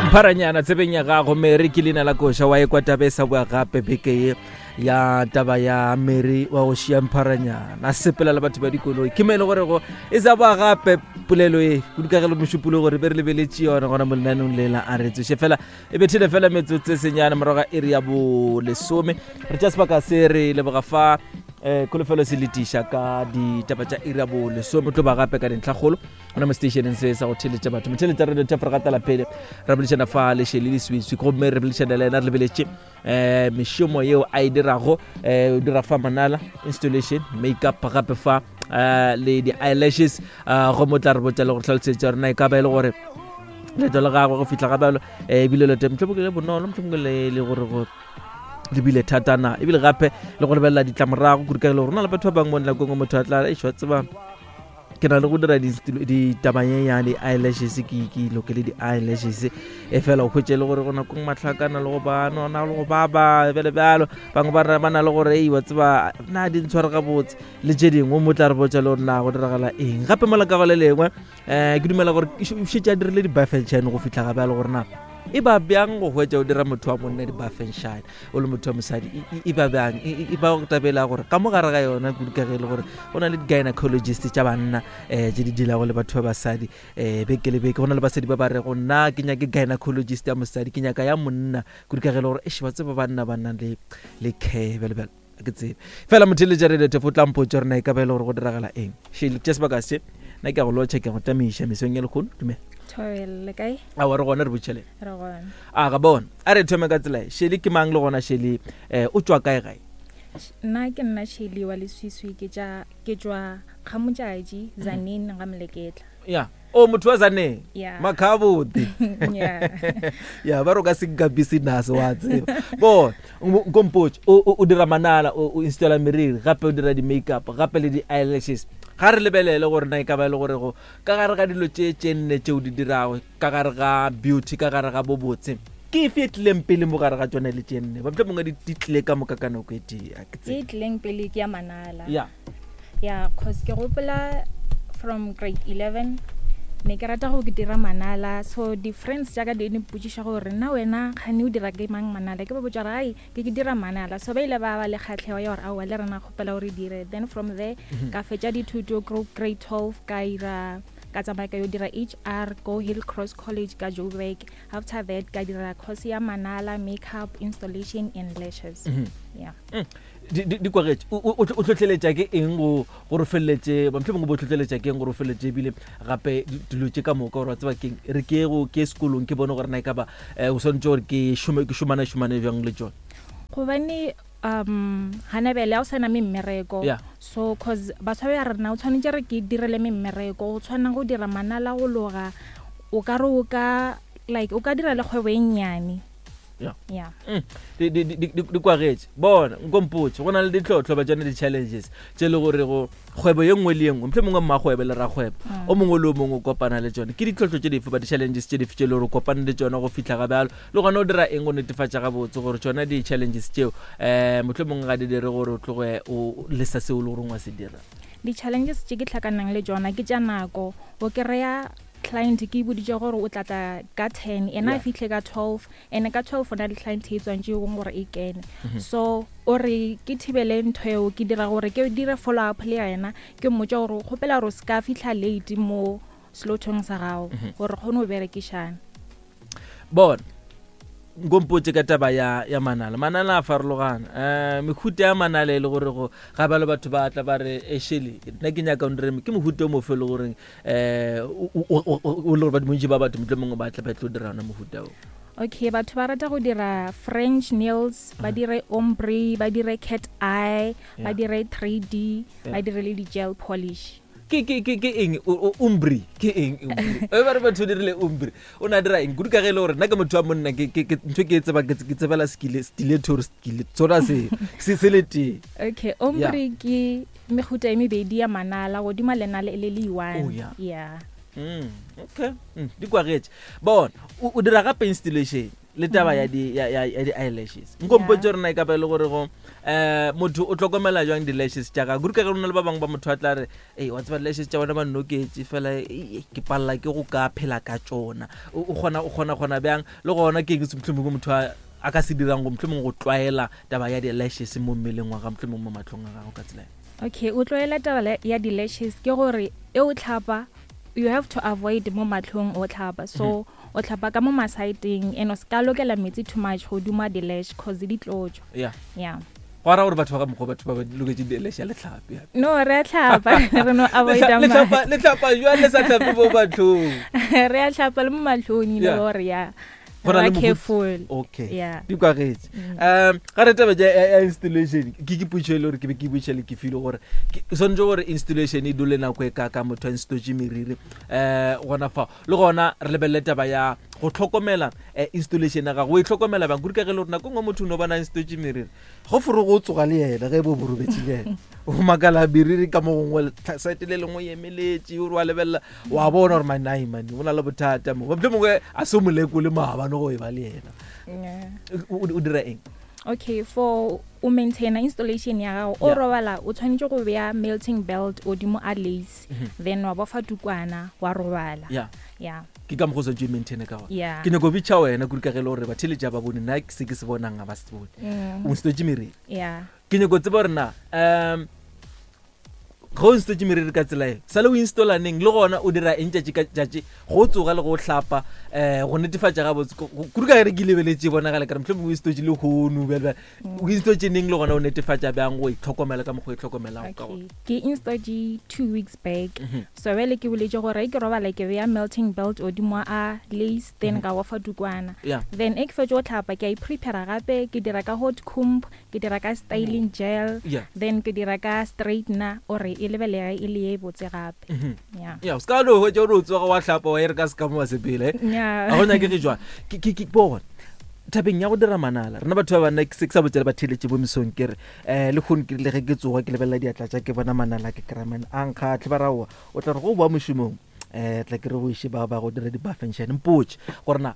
Mpharanyana tsebeng ya gago Mary ke leina la koša wa ekwa taba e sa boa gape beke ye ya taba ya Mary wa go šia Mpharanyana a sepela le batho ba dikoloi ke mo e le gorego e sa boa gape polelo e kudu ka ge le mošupolo gore be re lebeletše yona gona mo lenaneong lela a re tsoše fela e bethile fela metsotso e senyane morago ga iri ya bolesome re tša sebaka se re leboga fa um kholofelo se letiša ka ditaba tša iri ya bolesome tlo ba gape ka dintlhakgolo gona mo stationeng se sa go theletša batho motheletša radio tša gatela pele re boledišana fa le shele leswiswi gomme re boledišana le ena re lebeletše um mešomo yeo a e dirago um o dira fa manala installation makeup gape fa um le di-eyelashes um gomme o tla re botša le go tlhalosetša rena e ka ba e le gore leeto la gagwe go fihla ga bjalo um ebile leeto mohlomongwe le bonolo mohlomongwe le le gore go le bile thatana ebile gape le go lebelela ditlamorago kudu ka e le gore go na le batho ba bangwe mo nakong motho a tla ešwa tseba ke na le go dira ditabanyenyane di-eyelashes ke ke lokele di-eyelashes e fela o hwetše le gore go nakong mahlakana le go ba nona le go baba bjale bjalo bangwe ba ba na le gore ei wa tseba na di ntshware gabotse le tše dingwe mo tla re botša le gore na go diragala eng gape mola ka go le lengwe um ke dumela gore šetše a dirile di-buffenshine go fitlha gape a le gore na e ba bjang go hwetša o dira motho wa monna di-buffenshine o le motho wa mosadi e ba bjang e ba go tabela gore ka mo gare ga yona kudu ka ge e le gore go na le di-gynecologist tša banna um tše di dilago le batho ba basadi um beke le beke go na le basadi ba ba rego nna ke nyake gynecologist ya mosadi ke nyaka ya monna kudu ka ge e le gore ešhe ba tseba banna ba nang le care bjalo bjalo ke tsebe fela motheletša radio tefo o tla mpotša gore na e ka ba e le gore go diragala eng shele tša sebaka se nna ke a go lotšha ke a go tamiša mesong ya lekgono dumela Thobela, le kae? Aowa re gona re botšheleng Re gona. A ga bona a re thome ka tsela e shele ke mang le gona shele um o tšwa kae gae Nna ke nna Shirley wa Leswiswi ke tša ke tšwa Kgamotšatši Tzaneen ga Moleketla. Ya o motho wa Tzaneen Yeah. makhabodi Yeah. ya ba re o ka se nka business wa tseba bona nkompotše o o dira manala o o installa meriri gape o dira di-makeup gape le di-eyelashes ga re lebelele gore na e ka ba e le gore go ka gare ga dilo tše tše nne tše o di dirago ka gare ga beauty ka gare ga bobotse ke efe e tlileng pele mo gare ga tsone le tše nne ba mohlomongwe di di tlile ka moka ka nako e tee a ke E tsebe tlileng pele ke ya manala. ya Yeah, cause ke gopola from grade 11 ne ke rata go dira manala so di-friends tša ka di ne mpotšiša gore nna wena kgane o dira ke mang manala ke ba botša gore ai ke ke dira manala so ba ile ba ba le kgatlhego ya gore aowa le rena kgopela gore dire then from there ka fetša dithuto grade 12 ka ira ka tsamaya ka yo dira HR go Hill Cross College ka Joburg after that ka dira course ya manala makeup installation and lashes yeah Mm. Di, di, di kwagetše. O, o, o hlohleletša ke eng go gore o feleletše ba mohlomongwe bo hlohleletša ke eng gore o feleletše ebile gape dilo tše ka moka gore wa tseba keng re ke go ke sekolong ke bone gore na e ka ba um o swanetše gore ke šome ke šomane šomane bjang le tšone gobane um gana bjale ga o sa na memmereko Yeah. so cause batho ba ya rena o tshwanetse re ke direle memmereko go tshwana go dira manala go loga o ka re o ka like o ka dira le kgwebo e nnyane Yeah. yeah Mm, di- di- di- di di kwagetše bona nkompotše go na le ditlhotlho ba tsone di-challenges tše le gore go kgwebo ye nngwe le ye nngwe motlho mongwe mmakgwebo le rakgwebo o mongwe le o mongwe o kopana le tsone ke ditlhotlho tše dife ba di-challenges tše dife tše le gore o kopane le tsone go fitlha ga bjalo le gona o dira eng go netefatša gabotse gore tsona di-challenges tšeo um motlho mongwe ga di dire gore o tloge o lesa seo o le goreng wa se dira di-challenges tše ke tlhakanang le tsona ke tša nako o kry-a client ke e boditše gore o tla tla ka 10 ena a Yeah. fihle ka 12 ene ka 12 o na le client e tswantše gong gore e kene so o re ke thibele ntho eo ke dira gore ke dire follow up le yena ke mmotša gore o kgopela gore o se ka fitlha late mo slotong sa gago gore re kgone go berekišana bona nkompotse ka taba ya ya manala manala a farologana um mehuta ya manala e le gore go ga bjalo batho ba tla ba re eshele nna ke nyaka o ndireme ke mohuta o mofe e le goreng um o le gore bontši ba batho motlho mongwe ba tla ba tlo dira ona mohuta o okay batho ba rata go dira french nails ba dire ombre ba dire cat eye ba Yeah. dire 3D ba Yeah. dire le di-gel polish ke ke ke ke eng umbri ke eng umbri e ba re batho dirile umbri o ne a dira eng kudu ka ge e le gore nna ke motho wa monna ke ke ke ntho ke e tseba ke ke tsebela skile stiletto or skile tsona se se se le tee okay ombre ke mehuta e mebedi ya manala godimo lenala e le le one Oh, yeah. yeah Okay di kwagetše bona o dira gape installation. le taba ya di ya ya ya di-eyelashes nkompotse gore na e ka ba e le gore go um motho o tlhokomela jwang di-lashes tša gagwe kudu ka ge go na le ba bangwe ba motho a tla re ei wa tseba di-lashes tša bona ba nnoketse fela ei, ke palela ke go ka phela ka tšona o o kgona o kgona kgona bjang le gona ke eng se mohlomongwe motho a a ka se dirang go mohlomongwe go tlwaela taba ya di-lashes mo mmeleng wa gagwe mohlomongwe mo matlhong a gago ka tsela e? Okay, o tlwaela taba ya di-lashes ke gore e o tlhapa you have to avoid mo matlhong o tlhapa so mm -hmm. o tlhapa ka mo masaeteng and o se ka lokela metsi too much godimo a di-lash cause di tlo tswa yeah yeah go ra gore batho ba ka mokgwa batho ba ba loketse di-lash ya letlhape no re a tlhapa re no avoida letlhapa jwang le sa tlhape mo matlhong re a tlhapa le mo matlhong ile gore ya Go na le Ba mohuta- careful okay Yeah. di kwagetse um ga re taba ja ya installation ke ke potšo e le gore ke be ke botša le ke file gore ke- swanetše gore installation e dule nako e kaka motho a installetse meriri um gona fao le gona re lebelele taba ya go tlhokomela eh, installation ya gago o e tlhokomela bang kudu ka ge e le gore nako e nngwe motho o no bona installetse meriri go fore go tsoga le yena ge bo borobetše le yena o makala meriri ka mo gongwe site le lengwe e emeletše o re wa lebelela wa bona gore manai mane o na le bothata mo motlho mongwe a se o molekole maabane go e ba le yena o dira eng? Okay, for o maintaina installation ya gago o robala o tshwanetse go bea melting belt godimo a lace then wa bofa tukwana wa robala. Yeah. Yeah. Ke ka mokgwa o swanetše o maintaine ka gona. Yeah. Ke nyako bitša wena kudu ka ge e le gore batheeletši ba bone nna se ke se bonang ga ba se bone. O installetse meriri. Yeah. Ke nyako tseba gore na um ge o installetse meriri ka tsela e sale o installa neng le gona o dira eng tšatši ka tšatši go tsoga le go hlapa um go netefatša gabotse kudu ka gere ke lebeletše e bonagale kare mohlomongwe o installetse le hono bjale o installetse neng le gona o netefatša bjang go itlhokomela ka mokgwa o itlhokomelago ka gona? Ke installetse 2 weeks back. So bjale ke boletše gore ge ke robala ke beya melting belt godimo a lace then ka bofa tukwana. Then e ke fetše go hlapa ke a iprepara gape ke dira ka hot comb, ke dira ka styling gel. Then ke dira ka straightener gore e lebelege e le ye botse gape. Yeah. Ya, o se ka no hwetša o no tsoga wa hlapa wa e re ka se ka mo wa sepela, eh? Yeah. Ga go nyakege jwang. Ke, ke, ke, bona, tabeng ya go dira manala, rena batho ba banna, ke se ke sa botša le batheeletši bo mesong ke re, um le kgono ke rile ge ke tsoga ke lebelela diatla tša ke bona manala ke kry-a man a nkgatlhe ba raowa o tla re go boa mošomong um tla ke re go iše ba ba go dira di-buffenšene mpotše gore na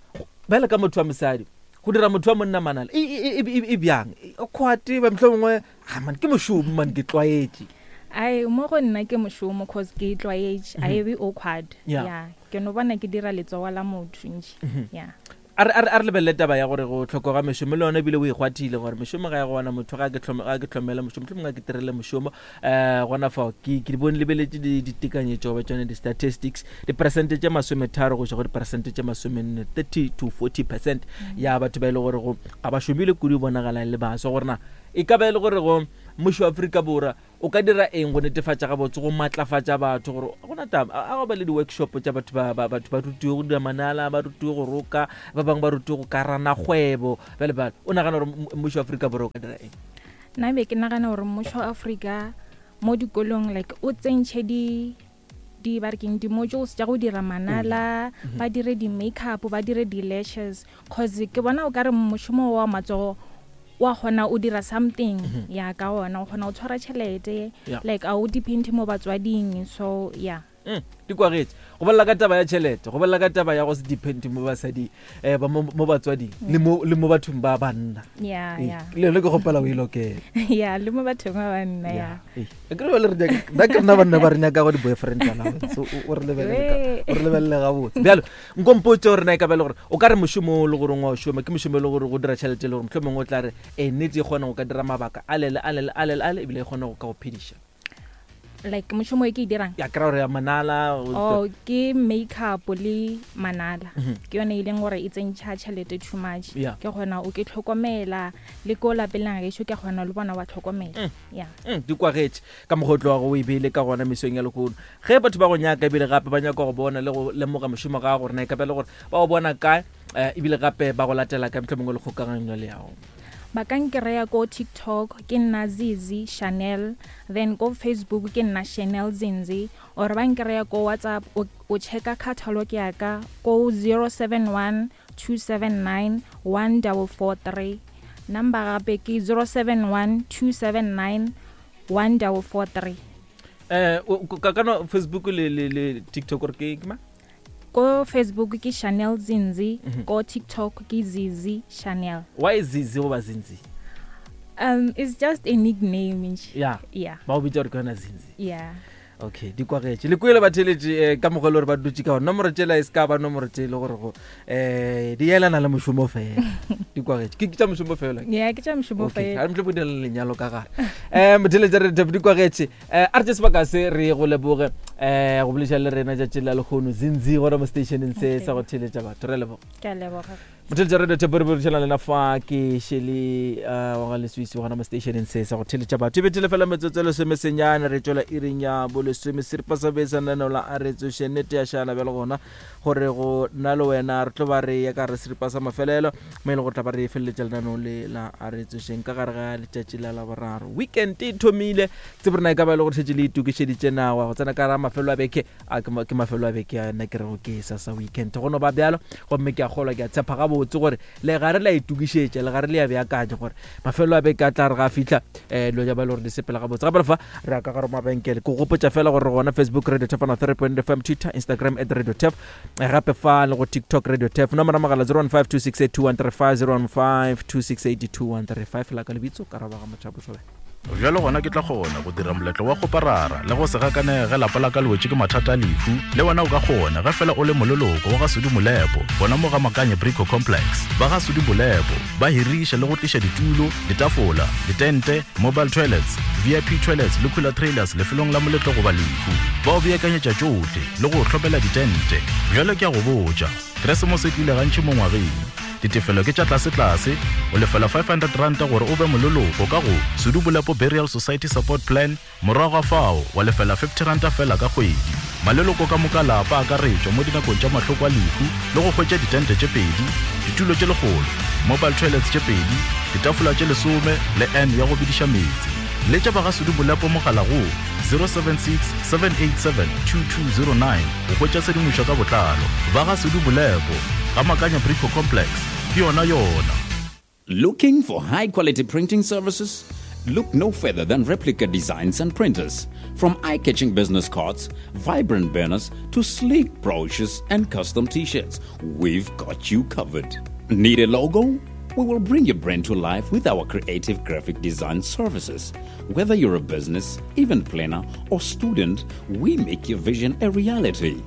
bjale ka motho wa mosadi go dira motho wa monna manala e, e, e, e, e bjang kgwate ba mohlho mongwe a man ke mošomo man ke tlwaetše. Ai mo go nna ke mošomo cause ke tlwaetše a e be awkward. Yeah, ke no bona ke dira letsogo la motho ntši. Yeah. A re, a re, a re lebelele taba ya gore go hlokoga mešomo le yona ebile o e kgwathile gore mešomo ga e gona motho ga ke hlome, ga ke hlomele mošomo mohlomongwe ga ke tirele mošomo um gona fao ke, ke di bone lebeletše di, ditekanyetšo goba tšone di-statistics diperesente tše 30 go iša go diperesente tše 40, 30 to 40 percent ya batho ba e le gore go ga ba šomile kudu e bonagala e le baswa gore na e ka ba e le gore go mmušo wa Afrika Borwa o ka dira eng go netefatša gabotse go matlafatša batho gore go na taba a go ba le di-workshop tša batho ba, ba, batho ba rutiwe go dira manala ba rutiwe go roka ba bangwe ba rutiwe go karana kgwebo bjale bjale o nagana gore mmušo wa Afrika Borwa o ka dira eng? Nna be ke nagana gore mmušo wa Afrika mo dikolong like o tsentšhe di di ba re keng di-modules tša go dira manala, ba dire di-makeup, ba dire di-lashes, cause ke bona o ka re mošomo wa matsogo wa kgona o dira something ya ka ona, o kgona go tshwara tšhelete, like a o depende mo batswading, so yeah. Di kwagetše go bolela ka taba ya tšhelete, go bolela ka taba ya go se depende mo basading, ba mo batswading le mo, le mo bathong ba banna. Yeah, Ee, yeah. le yone ke kgopela o e lokele. Yeah, le mo bathong ba banna, yeah. Yeah. Ee, ke re bjale re nyaka, nna ke rena banna ba re nyakago di-boyfriend allowance, o re lebelele ka, o re lebelele gabotse. Bjalo, nko mpotše gore na e ka ba e le gore o ka re mošomo o le gore wa o šoma ke mošomo e le gore go dira tšhelete e le gore mohlomongwe o tla re, ee, nnete e kgona go ka dira mabaka ale le ale le ale le ale ebile e kgona go ka go phediša. Like mošomo e ke e dirang? Ya kry-a gore ya manala, Oh, ke makeup le manala. Ke yone e leng gore e tsentšha tšhelete too much. Ke kgona o ke tlhokomela le ko lapeng la gešo ke kgona le bona wa tlhokomela. Yeah. Di kwagetše ka mokgwa o tlogago o e beile ka gona mesong ya lehono. Ge batho ba go nyaka ebile gape ba nyaka go bona le go lemoga mošomo ga gago gore na e ka ba e le gore ba go bona kae, ebile gape ba go latela kae mohlomongwe le kgokaganyo le yago. Ba ka nkreya ko TikTok ke nna Zizi Chanel, then ko Facebook ke nna Chanel Zinzi, or ba nkreya ko WhatsApp o, o checka catalog ya ka ko 071 279 1443. Number gape ke 071 279 1443. Ka no Facebook le, le, le TikTok gore ke, ke mang? Ko Facebook ke Chanel Zinzi, ko TikTok ke Zizi Chanel. Why Zizi goba Zinzi? It's just a nickname nje. Yeah. Yeah. Ba o bitša gore ke yona Zinzi. Yeah. Okay, di kwagetše. Le kwele batheletše eh, ka mokgwa e le gore ba dutše ka gona. Nomoro tšela e se ka ba nomoro tše e le gore go eh di elana le mošomo fela. Di kwagetše. Ke tša mošomo fela. Yeah, ke tša mošomo Okay, fela. a re motho bo le lenyalo ka gare. Eh motheletše re di kwagetše. Eh a re tše sebaka se re go leboge eh go boletša le rena tšatši la lehono Zinzi gona mo stationeng se sa go theletša batho. Re a leboga. Ke a leboga. Motheletša radio thepo re boledišana lena fa ke shele uh, wa ga leswisi gona mo stationeng se sa go theletša batho e bethele fela metsotso e lesome senyane re tšwela iring ya bolesome seripa sa besa lenaneo la a re tsoše nnete ya šala bjale gona gore go nna le wena re tlo ba re ya ka re seripa sa mafelelo mo e le gore tla ba re feleletša lenaneo le la a re tsošeng ka gare ga letšatši la laboraro weekend e thomile tsebo rena e ka ba e le gore šetše le itokišeditše nawa go tsena ka ra mafelo a beke A ke, ke mafelo a beke a nna ke rego ke sa sa weekend. Go no ba bjalo, gomme ke a kgolwa, ke a tshepa gabotse gore legare le a itokišetša, legare le a beakanya gore mafelo a beke a tla re ga a fihla, um dilo tša ba e le gore di sepela gabotse. Gape le fa re ya ka gare mabenkele. Ke gopotša fela gore re gona Facebook Radio Tef 103.8 FM, Twitter, Instagram at Radio Tef, eh, gape fa le go TikTok Radio Tef. Nomoro ya mogala 015 268 2135, 015 268 2135. La ka lebitso, Karabo ga Mothapo Thobela. Bjalo gona ke tla kgona go dira moletlo wa kgoparara le go se gakanege ge lapa la ka le wetše ke mathata a lehu. Le wena o ka kgona ge fela o le moleloko wa ga Sudi Molepo gona mo ga Makanye Brico Complex. Ba ga Sudi Molepo ba hiriša le go tliša ditulo, ditafola, ditente, mobile toilets, VIP toilets le cooler trailers lefelong la moletlo goba lehu. Ba o beakanyetša tšohle le go o hlomela ditente. Bjalo ke a go botša, Keresemose e tlile gantši mo ngwageng. Ditefelo ke tša tlasetlase, o lefela R500 gore o be moleloko ka go Sudu Bolepo Burial Society Support Plan, morago ga fao wa lefela R50 feela ka kgwedi. Maleloko ka moka a lapa a akaretšwa mo dinakong tša mahloko a lehu le go hwetša ditente tše pedi, ditulo tše lekgolo, mobile toilets tše pedi, ditafola tše lesome le urn ya go bediša meetse. Letša ba ga Sudu Bolepo mogala go 076 787 2209 go hwetša tshedimošo ka botlalo. Ba ga Sudu Bolepo. Ga Makanya Brico Complex, ke yona yona. Looking for high quality printing services? Look no further than Replica Designs and Printers. From eye catching business cards, vibrant banners, to sleek brochures and custom t shirts, we've got you covered. Need a logo? We will bring your brand to life with our creative graphic design services. Whether you're a business, event planner, or student, we make your vision a reality.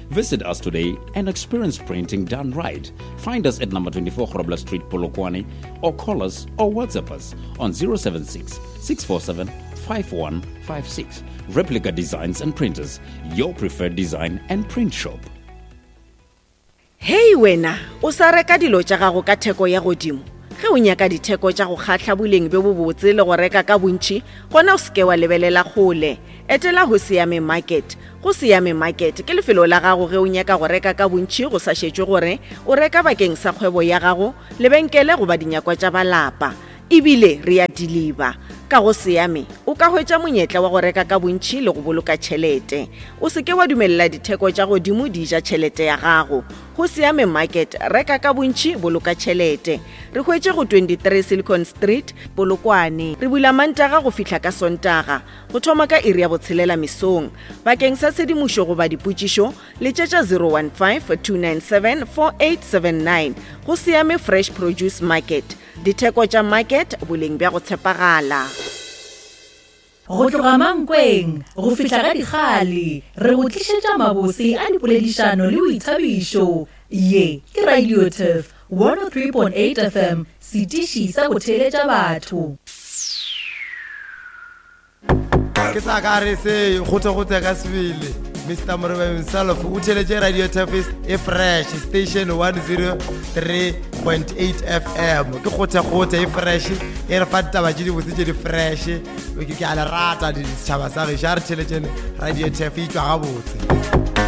Visit us today and experience printing done right. Find us at number 24 Grobler Street, Polokwane, or call us or WhatsApp us on 076 647 5156. Replica Designs and Printers, your preferred design and print shop. Hei wena, o sa reka dilo tša gago ka theko ya godimo? Ge o nyaka ditheko tša go kgahla boleng bjo bobotse le go reka ka bontši, gona o se ke wa lebelela kgole. Etela Hosiame Market. Go Siame Market ke lefelo la gago ge o nyaka go reka ka bontši go sa šetšwe gore o reka bakeng sa kgwebo ya gago, lebenkele goba dinyakwa tša ba lapa. E bile re a diliba. Ka go Siame o ka hwetša monyetla wa go reka ka bontši le go boloka tšhelete. O se ke wa dumelela ditheko tša godimo di ja tšhelete ya gago. Go Siame Market, reka ka bontši, boloka tšhelete. Re hwetše go 23 Silicon Street, Polokwane. Re bula Mantaga go fihla ka Sontaga, go thoma ka iri ya botshelela mesong. Bakeng sa tshedimošo goba dipotšišo, letšetša 015 297 4879. Go Siame Fresh Produce Market. Ditheko tša market, boleng bja go tshepagala. Go tloga Mankweng go fihla ga Dikgale, re go tlišetša mabose a dipoledišano le boithabišo. Ye ke Radio Turf 103.8 FM, setiši sa go theeletša batho. Ke sa ka re se kgothe-kgothe ka sebele. Mr Moreba himself o theletše Radio Turfis e fresh station 103.8 FM. Ke kgothe-kgothe e fresh e re fa ditaba tše dibotse tše di fresh. Ke a le rata setšhaba sa gešo, a re theletšeng Radio Turf e tšwa gabotse.